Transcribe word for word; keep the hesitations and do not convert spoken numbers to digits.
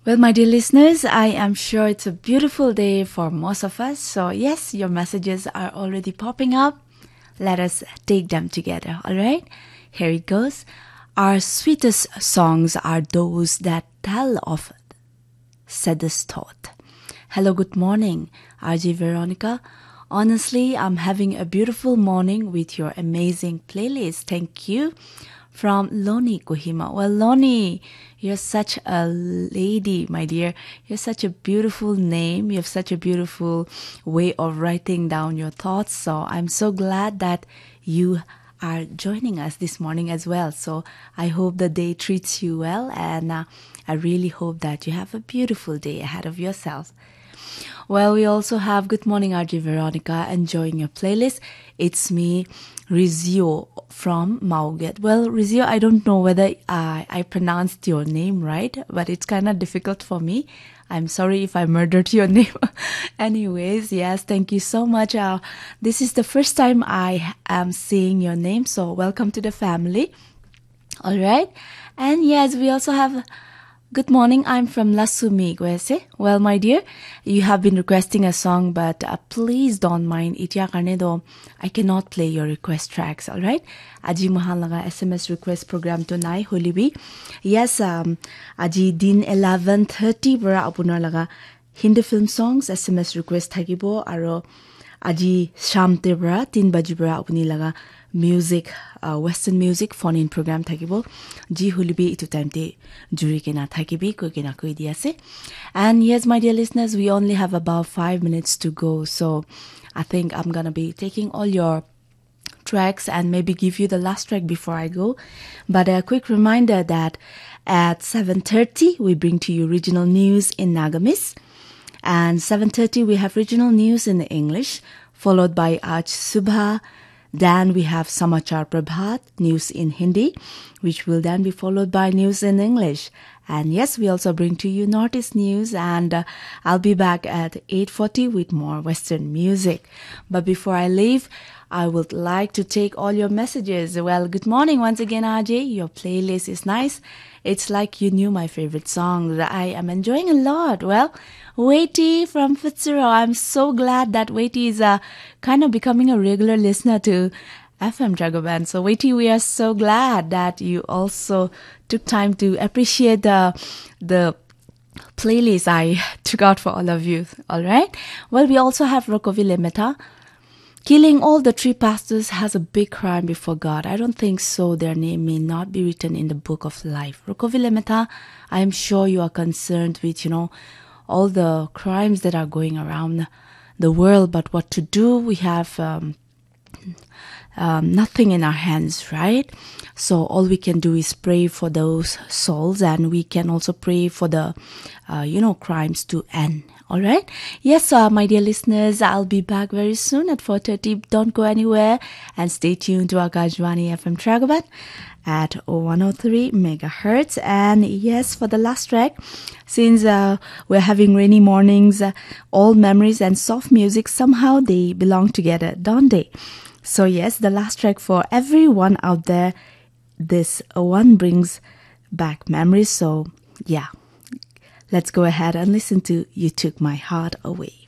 Well, my dear listeners, I am sure it's a beautiful day for most of us. So, yes, your messages are already popping up. Let us take them together, all right? Here it goes. Our sweetest songs are those that tell of saddest thought. Hello, good morning, R J Veronica. Honestly, I'm having a beautiful morning with your amazing playlist. Thank you. From Loni Kohima. Well, Loni, you're such a lady, my dear. You're such a beautiful name. You have such a beautiful way of writing down your thoughts. So I'm so glad that you are joining us this morning as well. So I hope the day treats you well, and uh, I really hope that you have a beautiful day ahead of yourself. Well, we also have good morning, R J Veronica, enjoying your playlist. It's me, Rizio from Mauget. Well, Rizio, I don't know whether I, I pronounced your name right, but it's kind of difficult for me. I'm sorry if I murdered your name. Anyways, yes, thank you so much. Uh, this is the first time I am seeing your name, so welcome to the family. All right. And yes, we also have. Good morning, I'm from Lasumi, Gwese. Well, my dear, you have been requesting a song, but uh, please don't mind. Itya karne do, I cannot play your request tracks, all right? Aji mohan laga S M S request program to nai holibi. Yes, um, aji din eleven thirty para apunar laga Hindi film songs S M S request thakibo, aro aji sham te para tin baji para apuni laga music, uh, western music phone in program thakibo. Ji holibi itu time te juri kena thakibi koi kena koi di ase. And yes, my dear listeners, we only have about five minutes to go. So I think I'm gonna be taking all your tracks and maybe give you the last track before I go. But a quick reminder that at seven thirty, we bring to you regional news in Nagamese. And seven thirty, we have regional news in English, followed by Aaj Subha. Then we have Samachar Prabhat, news in Hindi, which will then be followed by news in English. And yes, we also bring to you Northeast news, and uh, I'll be back at eight forty with more Western music. But before I leave, I would like to take all your messages. Well, good morning once again, R J. Your playlist is nice. It's like you knew my favorite songs. I am enjoying a lot. Well, Waity from Futsuro. I'm so glad that Waity is uh, kind of becoming a regular listener to F M Dragoban. So, Waity, we are so glad that you also took time to appreciate the the playlist I took out for all of you. All right. Well, we also have Rokovi Lemeta. Killing all the three pastors has a big crime before God. I don't think so. Their name may not be written in the book of life. Rokovi Lemeta, I am sure you are concerned with, you know, all the crimes that are going around the world. But what to do? We have um, um, nothing in our hands, right? So all we can do is pray for those souls, and we can also pray for the, uh, you know, crimes to end. All right. Yes, uh, my dear listeners, I'll be back very soon at four thirty. Don't go anywhere and stay tuned to Akashvani F M Tragaban at one oh three megahertz. And yes, for the last track, since uh, we're having rainy mornings, uh, all memories and soft music, somehow they belong together, don't they? So yes, the last track for everyone out there, this one brings back memories. So yeah, let's go ahead and listen to You Took My Heart Away.